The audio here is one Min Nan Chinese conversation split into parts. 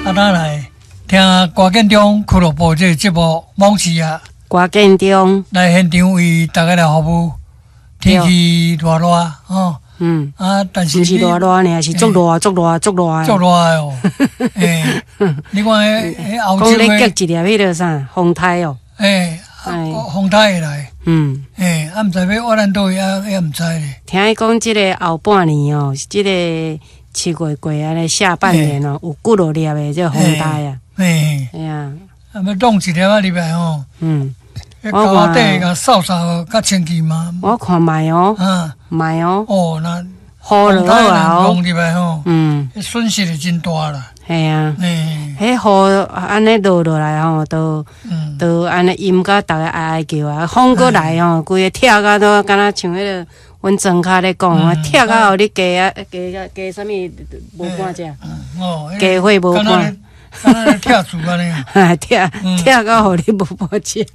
啊，咱來聽歌建中俱樂部這個節目《罔市啊》，歌建中來現場為大家來服務。天氣熱熱吼，啊，但是毋是熱熱爾，是足熱足熱足熱。足熱哦。欸，你看彼歐洲講咧結一粒彼个啥風台哦。欸，風台會來。欸，啊，毋知欲挖咱佗位啊，也毋知咧。聽伊講，這个後半年哦，這个7月過按呢下半年哦，有幾落粒的這個風台啊。欸。哎呀。啊，欲弄一粒仔入來吼。彼溝仔底共掃掃較清氣嘛。我看覓哦。覓哦。哦，那雨落啊哦。弄入來吼。損失會真大啦。係啊。彼雨按呢落落來吼，都按呢陰甲逐个哀哀叫啊，風閣來吼，規个拆甲都敢若像彼个阮莊跤咧講啊，拆甲予你雞啊雞啊雞啥物無半隻。雞血無半。敢若咧拆厝按呢。拆拆甲予你無半隻。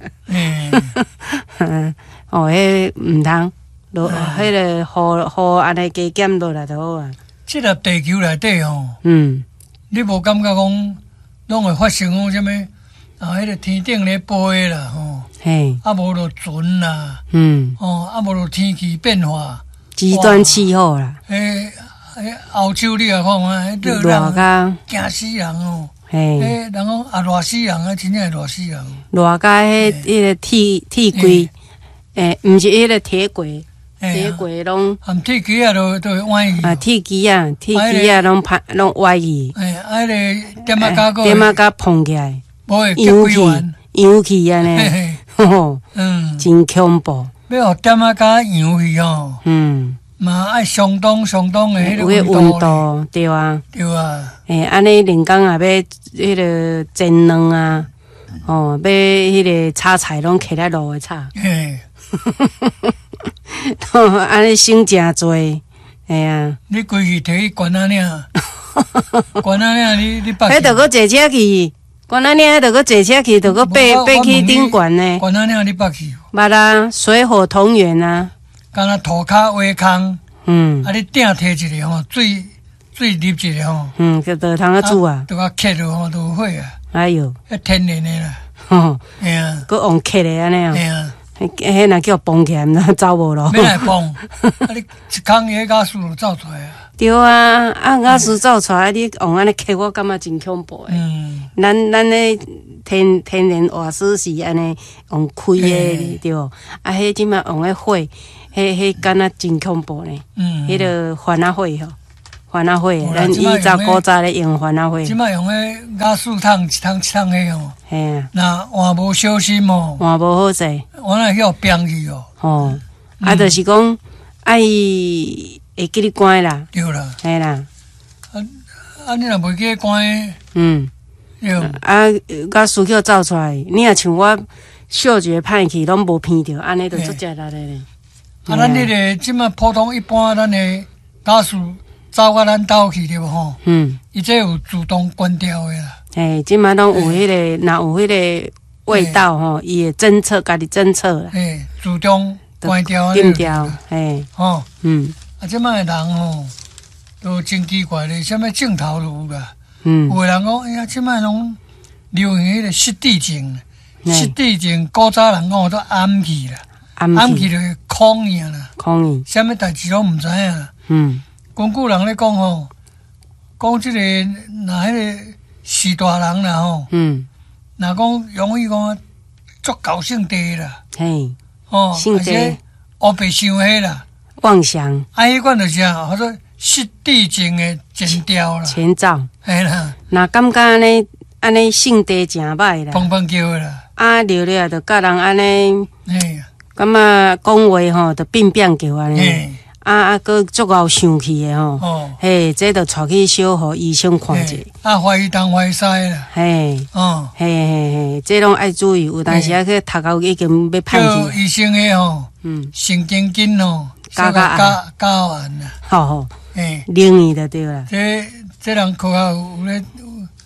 哦，彼毋通落，彼个雨雨按呢加減落來就好啊。這粒地球內底吼，你無感覺講攏會發生講啥物啊？彼个天頂咧飛啦吼，啊無就船啦，哦，啊無就天氣變化，極端氣候啦。彼歐洲你來看看，彼熱人驚死人哦！彼人講啊，熱死人啊，真正會熱死人。熱甲彼个鐵鐵櫃，欸，毋是彼个鐵櫃，鐵櫃攏含鐵枝仔都會歪去。啊，鐵枝仔，鐵枝仔攏歹攏歪去。欸，啊，彼个點仔膠閣點仔膠膨起來，無會結幾完，揚起按呢，吼，真恐怖。欲予點仔膠揚去吼，嘛愛相當相當的彼个溫度，對啊，對啊。欸，按呢連工也欲彼个煎卵啊，吼，欲彼个炒菜攏揢來爐的炒。按呢省誠濟，嘿啊。你規氣提去懸仔嶺，懸仔嶺你北。彼著閣坐車去，懸仔嶺，彼著閣坐車去，著閣爬爬去頂懸呢。懸仔嶺你捌去無？捌啊，水火同源啊。敢若塗跤挖空，啊，你鼎提一个吼，水水入一个吼，就就通啊煮啊，就共刻落吼，就有火啊。哎喲，彼天然的啦。吼，嘿啊，閣用刻的按呢。嘿啊，彼若叫磅起來，毋知走無咯。欲來磅，啊你一空彼瓦斯就走出來啊。對啊，啊瓦斯走出來，你用按呢刻，我感覺真恐怖的。咱咧天然瓦斯是按呢用開的，對無？啊，彼這擺用彼火，彼敢若真恐怖呢。彼个番仔火吼，番仔火，咱以早古早咧用番仔火。這擺用彼瓦斯桶一桶一桶彼吼。嘿啊。若換無小心吼，換無好勢，換來去予崩去哦。吼，啊，就是講愛會記得關啦。對啦。嘿啦。啊啊！你若袂記得關？對。啊，瓦斯去走出來，你若像我嗅覺歹去，攏無鼻著，按呢就足食力的咧。啊，咱彼个這擺普通一般，咱的瓦斯走到咱兜去對無吼？伊這有自動關掉的啦。嘿，這擺攏有彼个，若有彼个味道吼，伊會偵測，家己偵測啦。嘿，自動關掉。關掉，嘿。吼。啊，這擺的人吼，都真奇怪咧，啥物症頭都有啦。有的人講，哎呀，這擺攏流行彼个失智症，失智症古早人講做暗去啦，暗去就是空去啦，空去，啥物代誌攏毋知影啦。根據人咧講吼，講這個若彼个序大人啦吼，若講容易講足𠢕性地啦，哦，性地，烏白想彼啦，妄想，啊，彼款就是啥，叫做失智症的前兆啦，前兆，嘿啦，若感覺按呢按呢性地誠歹啦，砰砰叫的啦，啊，了了就佮人按呢，感覺講話吼就變變叫按呢。啊啊，閣足𠢕生氣的吼，嘿，這就帶去小予醫生看者。啊，懷疑東懷疑西啦。嘿，哦，嘿嘿嘿，這攏愛注意，有當時啊去讀到已經欲歹去。醫生的吼，神經筋吼，加加加加按啦。好好，嘿，靈異就對啦。這人科學有咧。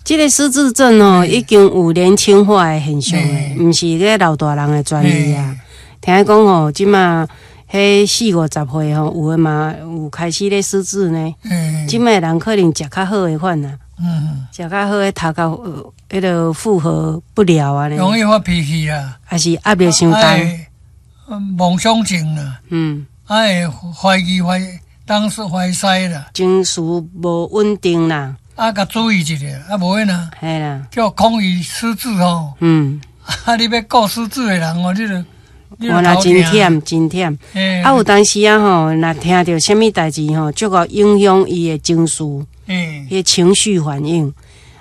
這个失智症哦，已經有年輕化的現象的，毋是咧老大人的專利啊。聽講吼，這馬。彼四五十歲吼，有的嘛有開始咧失智呢。這擺人可能食較好的款啊，食較好的頭殼彼个負荷不了按呢。容易發脾氣啦，還是壓力傷重。妄想症啦，愛懷疑懷當時懷西啦，情緒無穩定啦。啊，共注意一下，啊，無按呢，嘿啦，叫恐伊失智吼。啊，你欲顧失智的人哦，你就我若真忝，真忝。啊，有當時啊吼，若聽著啥物代誌吼，足夠影響伊的情緒，彼个情緒反應。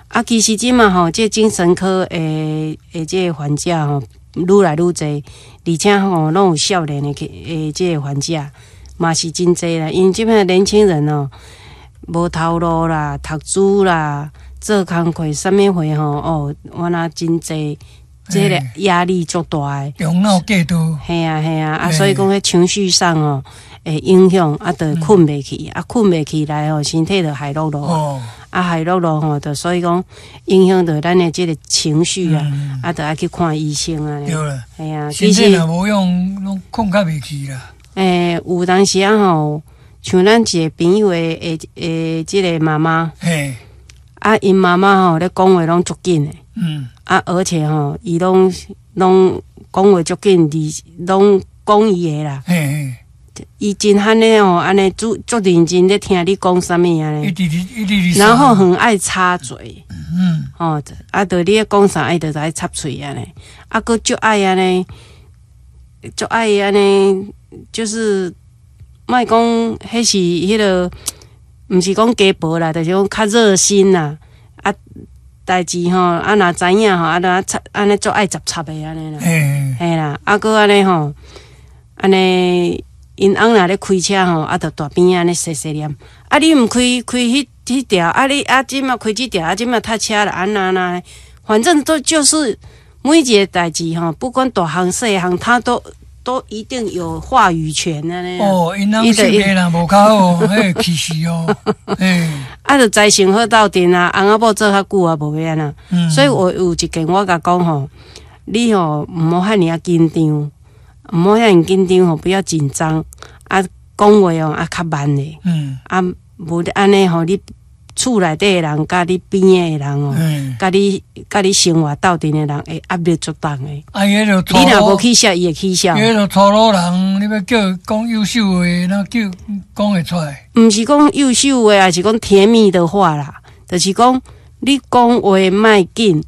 啊，其實這馬吼，這精神科的這个患者吼，愈來愈濟，而且吼，攏有少年的去的這个患者，嘛是真濟啦。因為這擺年輕人哦，無頭路啦，讀書啦，做工課，啥物貨吼，哦，原來真濟。這个壓力足大的，用腦過度。嘿啊嘿啊，啊，所以講彼情緒上哦，會影響，啊，就睏袂去，啊，睏袂起來吼，身體就害落落，啊，害落落吼，就所以講影響著咱的這个情緒啊，啊，就愛去看醫生啊。對啦，嘿啊，其實若無用，攏睏較袂去啦。欸，有當時啊吼，像咱一個朋友的這个媽媽，啊，𪜶媽媽吼咧講話攏足緊的。啊，而且吼，伊攏攏講話足緊，而攏講伊的啦。伊真罕咧吼，按呢足足認真咧聽你講啥物按呢。然後很愛插嘴。吼，啊，著你咧講啥，伊就愛插喙按呢。啊，閣足愛按呢，足愛按呢，就是莫講，彼是彼个，毋是講家婆啦，就是講較熱心啦。啊，代誌吼，啊，若知影吼，啊，就插按呢足愛插插的按呢啦。嘿啦，啊，閣按呢吼，按呢，𪜶翁若咧開車吼，啊，就大邊按呢細細念。啊，你毋開開彼彼條，啊，你啊，這馬開這條，啊，這馬塞車啦，按怎按，反正都就是每一个代誌吼，不管大項細項，他都一定有話語權按呢。哦，𪜶翁性格若無較好，彼會起勢哦。嘿。啊，就知生好鬥陣啊，翁仔某做較久啊，無欲按怎。所以我有一件我共講吼，你吼毋好遐爾仔緊張，毋好遐爾緊張吼，不要緊張。啊，講話哦啊較慢咧。啊，無按呢吼，你厝內底的人佮你邊仔的人哦，佮你生活鬥陣的人會壓力足重的。啊，伊彼個你若無起痟，伊會起痟。伊彼個粗魯人，你欲叫伊講優秀話，哪叫講會出來？毋是講優秀話，抑是講甜蜜的話啦。就是講你講話莫緊，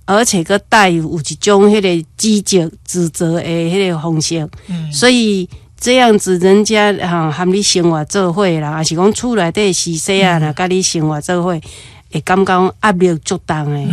而且閣帶有一種彼个指責、指責的彼个方式。所以這樣子，人家哈和你生活做伙啦，抑是講厝內底序細仔，若佮你生活做伙，會感覺壓力足重的。